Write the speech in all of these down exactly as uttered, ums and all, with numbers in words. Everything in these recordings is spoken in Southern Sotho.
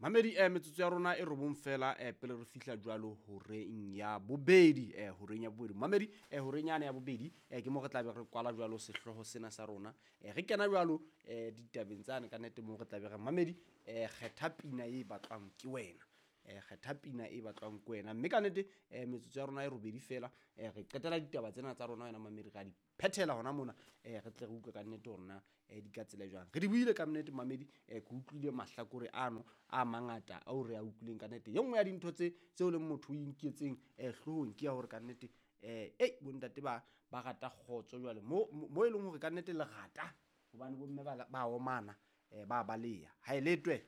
Mamedi eh metsotso ya rona e robong fela eh pele re fihla jwalo horeng ya bobedi eh horeng ya bobedi. Mamedi eh horeng yane ya bobedi eh ke mo re tla be re kwala jwalo sehlooho sena sa rona. Eh re kena jwalo eh ditabeng tsane ka nnete mo re tla be re mamedi eh kgetha pina e batlwang ke wena. Eh kgetha pina e batlwang ke wena. Mme ka nnete eh metsotso ya rona e robedi fela eh re qetela ditaba tsena tsa rona wena mamedi ra di phethela hona mona eh re tle re utlwe ka nnete hore na eh di ka tsela jwang. Re di buile ka nnete mamedi eh ke utlwile mahlakore ano a mangata ao re a utlwileng ka nnete. E nngwe ya dintho tse tseo leng motho o inketseng eh hloohong ke ya hore ka nnete eh ei bontate ba ba rata kgotso jwale mo mo e leng hore ka nnete le rata hobane bomme ba ba omana eh ba baleya. Ha e letwe.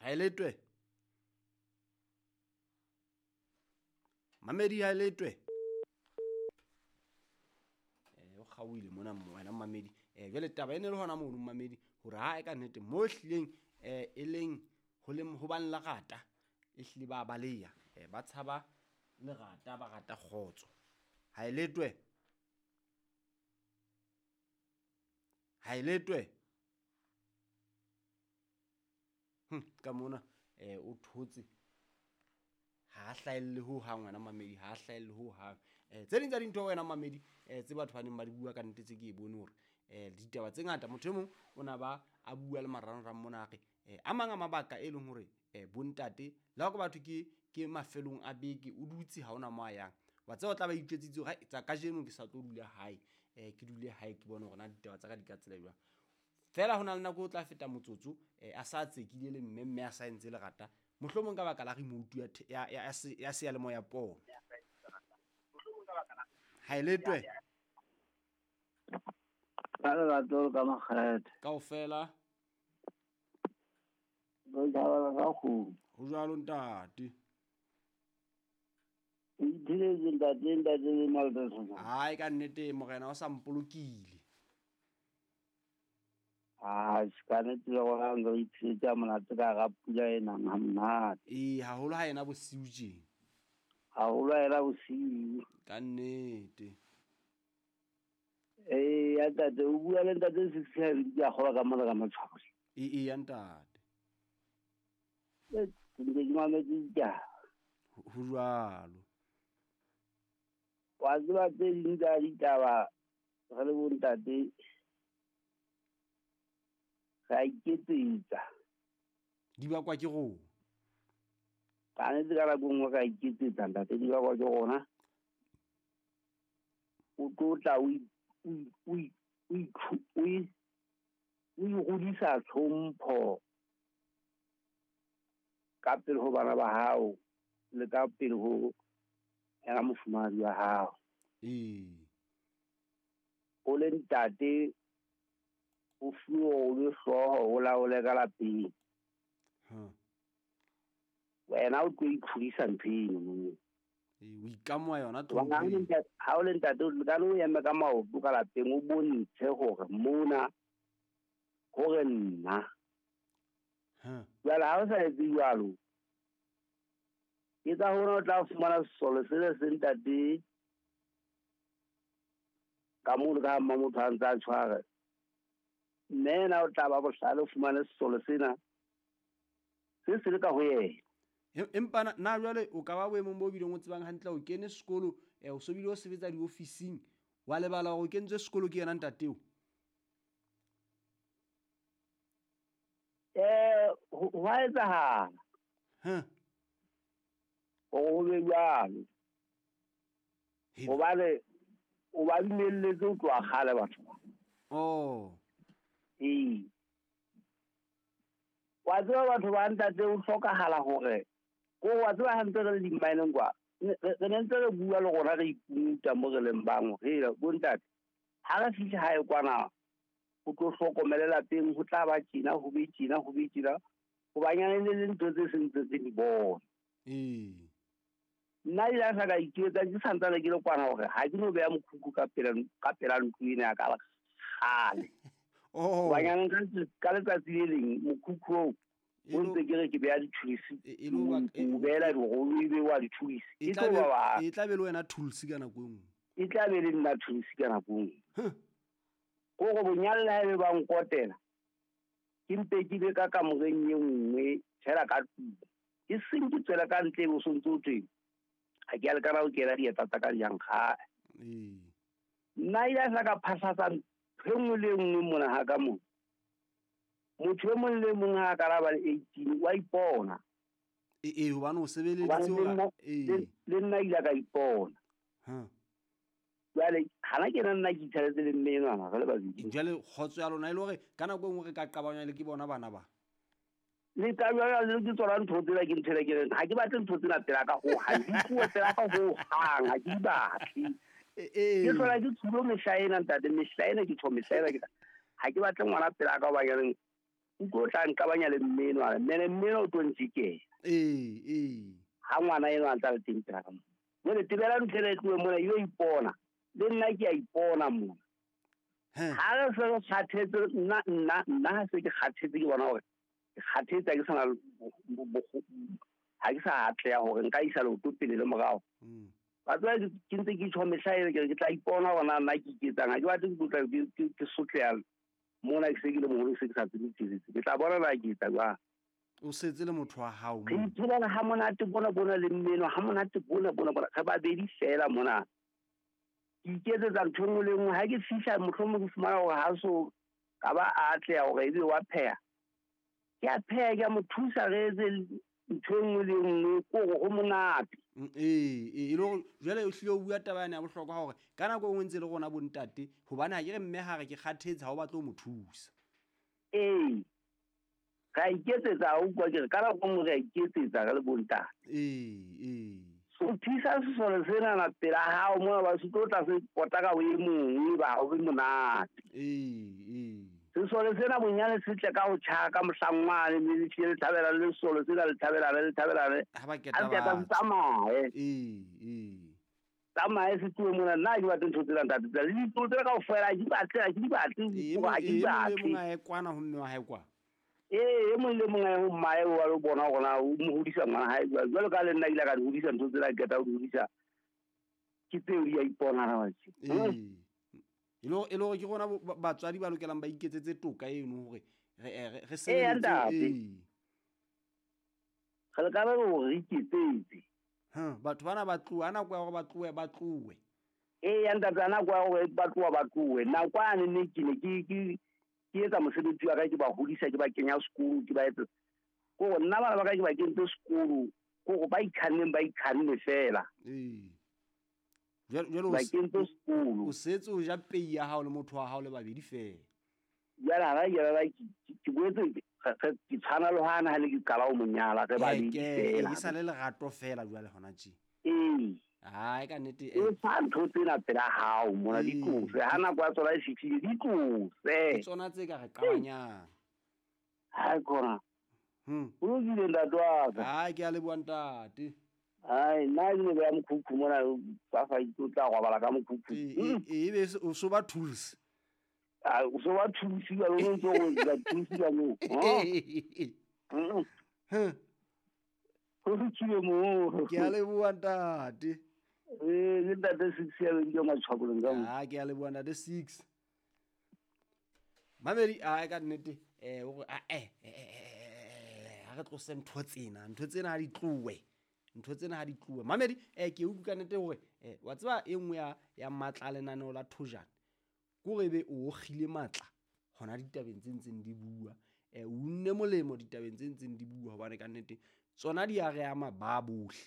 Ha e letwe. Mamedi ha e letwe. O kgaohile mona wena mamedi eh jwale taba ene le hona mono mamedi hore ha e ka nnete mo hlileng eh e leng ho le ho bang lerata e hlile ba baleya eh ba tshaba lerata ba rata kgotso. Ha e letwe. Ha e letwe. Hm ka mona eh o thotse ha hlahelle ho hang wena mamedi ha hlahelle ho hang. Eh tse ding tsa dintho wena mamedi eh tse batho ba neng ba di bua ka nnete tse ke e bone hore eh ditaba tse ngata motho e mong o na ba a bua le marangrang mona a re eh a mang a mabaka e leng hore eh bontate le ha ke batho ke ke mafelong a beke o dutse ha ona mo a yang wa tseba o tla ba itjwetsitse hore tsa kajeno ke sa tlo dula hae eh ke dule hae ke bone hore na ditaba tsa ka di ka tsela jwang. Fela hona le nako o tla feta motsotso eh a sa tsekile le mme mme a sa entse lerata mohlomong ka baka la remote ya ya ya seyalemoya pono. Ha e letwe. Ka lerato ka makgethe. Kaofela. Re thabela ka kgomo. Ho jwalo ntate. O ithuletse ntate ntate le malta. Hai ka nnete morena o sa mpolokile. Ah, ka nnete le rona re ithuletse ha monate ka hara pula e nang ha monate. Ee, haholo ha ena bosiu tje. Haholo ha ena bosiu. Ka nnete. Eh, ya ntate o bua le ntate six ke a kgolwa ka mona ka matshwao. Ee, ee ya ntate. Eh, ke ntse ke mametse ditaba. Ho jwalo. Wa tseba tse ding tsa ditaba re le bontate re a iketsetsa. Di bakwa ke rona. Ka nnete ka nako e nngwe re a iketsetsa ntate, di bakwa ke rona. O tlo tla o o o igodisa tlhompho ka pele ho bana ba hao le ka pele ho yena mofumahadi wa hao. Ee. O le ntate o fuwe o le hlooho o laole ka lapeng. Ha. Wena o tlo ikhudisa ntho eno. Ee, o ikamoha yona tlhompho. Ha o le ntate o ka no eme ka maoto ka lapeng o bontshe hore mona hore nna. Ha. Jwale ha o sa etse jwalo, ke ka hona o tla fumana sesole se le se ntate ka mono ka ha motho a ntse a tshwara. Mme yena o tla ba bohlale o fumane sesole sena se se le ka ho yena. Empa na jwale o ka ba boemong bo bileng o tsebang hantle o kene sekolo eh o so bile o sebetsa diofising wa lebala hore o kentswe sekolo ke yena ntateo. Eh ho a etsahala. Ha. Hore ho be jwalo. Hobane o ba dumelletse ho tloha kgale batho ba. Oh. Ee. Wa tseba batho ba ntate o hlokahala hore ko wa tseba ha ntse re le di-mineng kwa re ne ntse re bua le rona re ikuta mo re leng bang hore bo ntate ha re fihle hae kwana o tlo hlokomele lapeng ho tla ba tjena ho be tjena ho be tjena hobanyane le le ntho tse seng tse di bona. Ee. Nna ile a sa ka itjwetsa ke santsane ke le kwana hore ha ke no beha mokhukhu ka pela ka pela ntlo ena ya ka kgale. Oh. Hobanyane ka letsatsi le leng mokhukhu oo o ntse ke re ke beha di-tools o beela dirolo ebe wa di-tools e tlo ba e tla be le wena tools ka nako e nngwe. E tla be le nna tools ka nako e nngwe. Kore bonyane le ha ebe ba nkotela Ke mpe ke be ka kamoreng e nngwe fela ka tlung. Ke seng ke tswela ka ntle bo sontso thwe. Ha ke a lekana ho kena dieta tsa ka jang ga. Ee. Nna ile sa ka phasatsa ntho e nngwe le e nngwe mona ha ka mona. Motho e mong le mong ha ka ba le eighteen wa ipona. Ee, ee, hobane o sebeleditse hore ee. Le nna ile ka ipona. Ha. Jwale hana ke nna ke ithaletse le mme enwana re le babedi. Jwale kgotso ya lona e le hore ka nako e nngwe re ka qabanywa le ke bona bana ba. Le ka jwale le ke tsona ntho tsena ke ntho ke reng ha ke batle ntho tsena pela ka ho hang, di tlohe pela ka ho hang, ha ke di batle. Ee. Ke hlola ke tshulo mehla ena ntate, mehla ena ke tjho mehla ena ke ha ke batle ngwana pela ka hoba ke reng o tlo tla nqabanya le mme enwa, mme mme enwa o tlo ntjikela. Ee, ee. Ha ngwana enwa a ntsa le teng pela ka mona. Jwale tebela ntho ena e tlohe mona, e yo ipona. Le nna ke a ipona mona. Ha re se re kgathetse, nna, nna, nna ha se ke kgathetse ke bona hore ke kgathetse ha ke sa na ha ke sa atleha hore nka isa leoto pele le morao. Mm. Ba tseba ke ntse ke tjho mehla ena ke re ke tla ipona hore na nna ke iketsang. Ha ke batle ke tlotla ke, ke, ke sotleha mona ke se ke le moholo, ke se ke sa tsebe tshebetso. Ke tla bona na ke etsa jwang. O setse le motho wa hao Re moo. iphelela ha monate bona bona le mmeno, ha monate bona bona bona. Re babedi fela mona. Ke iketsetsa ntho e nngwe le nngwe. Ha ke fihla mohlomong ke fumana hore ha so ka ba a atleha hore ebe wa pheha. Ke a pheha, ke a mo thusa re etse ntho e nngwe le nngwe, ke hore ho monate. Mm, ee, ee, e le hore jwale o hlile o bua taba yane ya bohlokwa hore ka nako e nngwe ntse le rona bo ntate, hobane ha ke re mme ha re ke kgathetse ha o batle ho mo thusa. Ee. Re a iketsetsa, ha o utlwa ke re ka nako e nngwe re a iketsetsa re le bo ntate. Ee, ee. So thusa sesole sena pela hao mona ba se tlo tla se pota ka ho e mong ba ho be monate. Ee, ee. Sesole sena bonyane se tle ka ho tjhaka mohlangwane mme le tlile le thabela le sesole sena le thabela le thabela le. Ha ba keta Ha se batho. tsamaye. Ee, ee. Tsamaye se tlohe mona, nna ha ke batle ntho tsena ntate. Le ditlo tsena kaofela ha ke di batle, ha ke di batle, Ee, ha ke di e mong le batle. mong a ye kwana ho mme wa hae kwa. Ee, e mong le mong a ye ho mmae wa lo bona hore na o mo hodisa ngwana hae jwang. Jwalo ka le nna ile ka di hodisa ntho tsena, ke qeta ho di hodisa. Ke tseo di a ipona ha batjha. Ee. E le hore, e le hore ke rona bo-, ba-, batswadi ba lokelang ba iketsetse toka eno hore re, re, re Ee, sebeletse, ntate. ee. Re leka re hore re iketsetse. Ha, batho bana ba tlohe, ha nako ya hore ba tlohe, ba tlohe. Ee, ntate, ha nako ya hore ba tloha, ba tlohe. Nako yane ne ke ne ke, ke, ke etsa mosebetsi wa ka, ke ba hodisa, ke ba kenya sekolo, ke ba etsa. Ke hore nna bana ba ka ke ba kentse sekolo, ke hore ba ikhanneng, ba ikhanne fela. Ee. Jwale, jwale o Ba se-, kentse sekolo. o setse o ja pei ya hao le motho wa hao le babedi fela. Jwale ha ba ke ba ke, ke, ke boetse ke, ke, ke tshwana le hana ha le ke qala ho mo nyala, re Ee, babedi ke, fela. ke sa le lerato fela jwale hona tje. Ee. Hai, ka nnete, E eh. fa ntho tsena pela hao mona, di Ee. tlose. Ha nako ya tsona e fihlile, di tlose. Ke tsona tse ka re qabanyang. Hai, kona. Hmm. O lokile ntate wa ka. Hai, ke a leboha ntate. Hai, nna ke ne ke ya mokhukhu mona, ba fa itse o tla robala ka mokhukhu. Ee, ee, ee, ebe o so ba tools. Ah, o so ba tools ka lona, o ntso o etsa tools ka moo. Ee. Ha? Huh. Ho fihlile moo. Ke a leboha ntate. Ee, ke ntate six ya beng ke matshwaboleng ka moo. Ah, ke a leboha ntate six. Mamedi, ah, ka nnete, eh, o re, ah, eh, eh, eh, eh, ha re tlose ntho tsena, ntho tsena ha di tlohe. Ntho tsena ha di tlohe. Mamedi, eh, ke utlwa ka nnete hore, eh, wa tseba e nngwe ya, ya matla a lenaneo la Thojane, ke hore ebe o okgile matla hona ditabeng tse ntseng di bua. Eh, o unne molemo ditabeng tse ntseng di bua, hobane ka nnete tsona di a re ama ba bohle.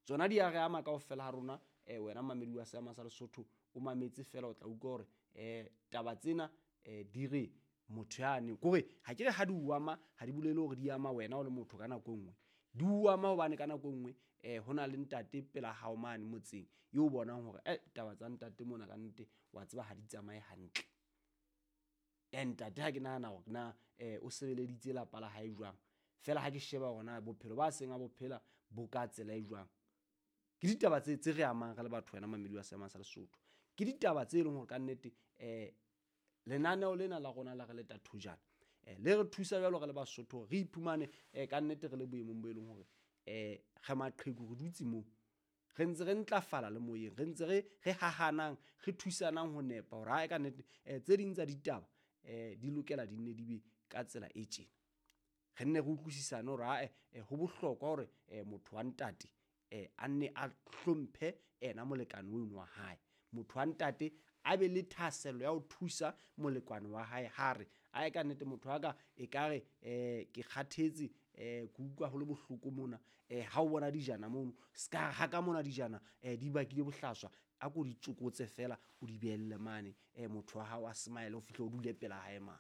Tsona di a re ama kaofela ha rona. Eh, wena mamedi wa Seema sa Lesotho, o mametse fela o tla utlwa hore, eh, taba tsena, eh, di re motho yane. Ke hore ha ke re ha di o ama, ha di bolele hore di ama wena o le motho ka nako e nngwe. Di o ama hobane ka nako e nngwe, eh, ho na le ntate pela hao mane motseng eo o bonang hore, eh, taba tsa ntate mona ka nnete wa tseba ha di tsamaye hantle. Eh, ntate ha ke nahana hore na, eh, o sebeleditse lapa la hae jwang. Fela ha ke sheba hore na bophelo ba seng a bo phela bo ka tsela e jwang. Ke ditaba tse, tse re amang re le batho wena mamedi wa Seema sa Lesotho. Ke ditaba tse leng hore ka nnete, eh, lenaneo lena la rona la re leta Thojane, eh, le re thusa jwalo re le Basotho hore re iphumane, eh, ka nnete re le boemong bo e leng hore, eh, re maqheku, re dutse moo. Re ntse re ntlafala le moyeng, re ntse re, re hahanang, re thusanang ho nepa hore hae ka nnete, eh, tse ding tsa ditaba, um di lokela di nne di be ka tsela e tjena. Re nne re utlwisisane hore ae ho bohlokwa hore um motho wa ntate um a nne a hlomphe ena molekane ono wa hae. Motho wa ntate a be le thahasello ya ho thusa molekane wa hae ha re ae kannete motho wa ka ekare um ke kgathetse, um ke utlwa ho le bohloko mona. um Ha o bona dijana mono, ska re ha ka mona dijana um di bakile bohlaswa, a ko di tsokotse feela o di behelle mane. um Motho wa hao a smile o fihle o dule pela hae mane.